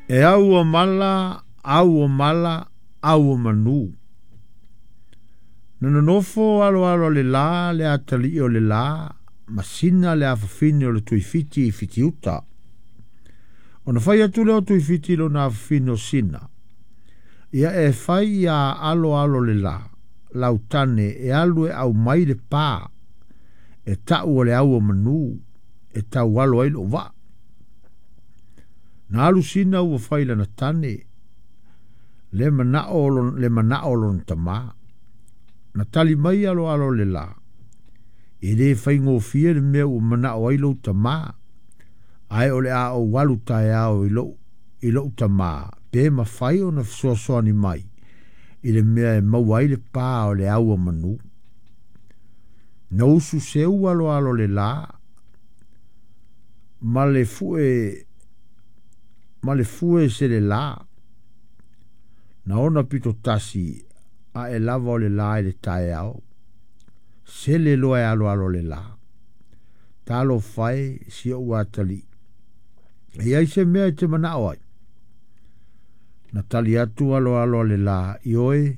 E au o mala, au o mala, au o manu. Na nonofo aloalo a le la le atalii o le la ma Sina le afafine o le Tuifiti i Fitiuta. Ona fai atu lea o Tuifiti i lona afafine o Sina, Ia e fai iā aloalo le la, lau tane e alu e aumai le pa, e ta'u o le au o manu, e taualo ai lo'u vaa. Na alu Sina ua fai lana tane, le mana'o le mana'o o lona tamā. Na tali mai aloalo le la, E lē faigofie le mea ua mana'o ai lou tamā, ae o le a ou alu taeao i lo'u i lo'u tamā pe mafai ona fesoasoani mai i le mea e maua ai le pa o le au o manu. Na usu seu aloalo le la ma le fue ma le fue se le la. Na ona pito tasi a'e lava o le la i le taeao, sele loa e aloalo le la. Talofa e si o'u atalii, e i ai se mea e te mana'o ai? Na tali atu aloalo a le la, Ioe,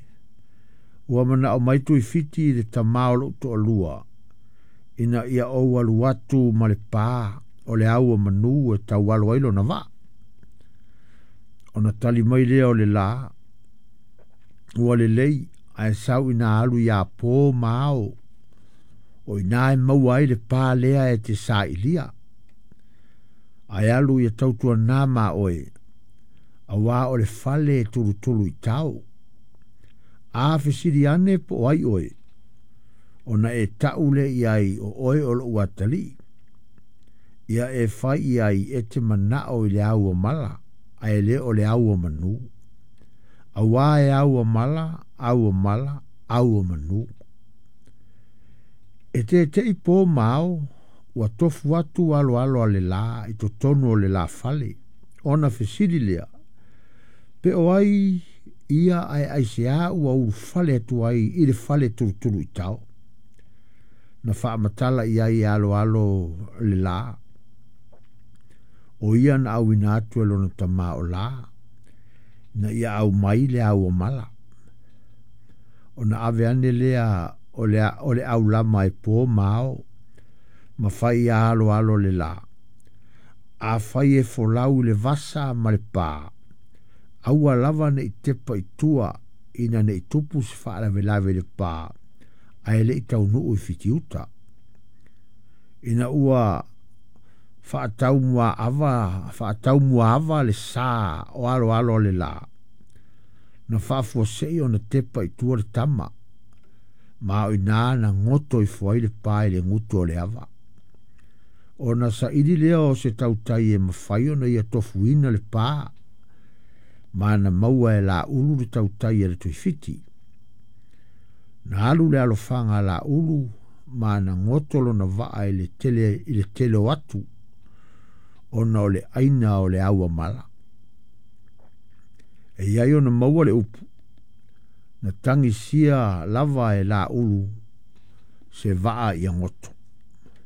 ua mana'o mai Tuifiti i le tamā o lo'u to'alua, ina ia ou alu atu ma le pa o le au o manu e taualo ai lona vaa. Ona tali mai lea o le la, Ua lelei, ae sau ina alu iā pō ma ao, o i ina e maua ai le pa lea e te sailia. Ae alu ia tautuanā ma oe, auā o le fale e tulutulu i tao. A fesili ane po o ai oe, ona e ta'u lea i ai o oe o lo'u atalii. Ia e fai i ai e te mana'o i le au o mala, ae le o le au o manu. Auā e au o mala, au o mala, au o manu. E tete'i pō ma ao, ua tofu atu aloalo a le la i totonu o le la fale, ona fesili lea, Pe o ai ia ae aiseā ua ulufale atu ai i le fale tulutulu i tao? Na faamatala i ai e aloalo le la, o ia na auina atu e lona tamā o La, ina ia aumai le au o mala. Ona ave ane lea o le, o le aulama e pō ma ao, ma fai iā aloalo le la. Afai e folau i le vasa ma le pa, aua lava ne i tepa i tua ina ne i tupu se faalavelave i le pa ae le i taunuu i Fitiuta. Ina ua faataumuaava faataumuaava le sā o aloalo le la, na faafuasei ona tepa i tua le tama, ma o i ina na goto ifo ai le pa i le gutu o le ava. Ona saili lea o se tautai e mafai ona ia tofuina le pa, ma na maua e Laulu le tautai a le Tuifiti. Na alu le alofaga a Laulu ma na goto lona vaa i le tele i le tele o atu, ona o le aina o le au a mala. E i ai ona maua le upu, na tagisia lava e Laulu se vaa ia goto.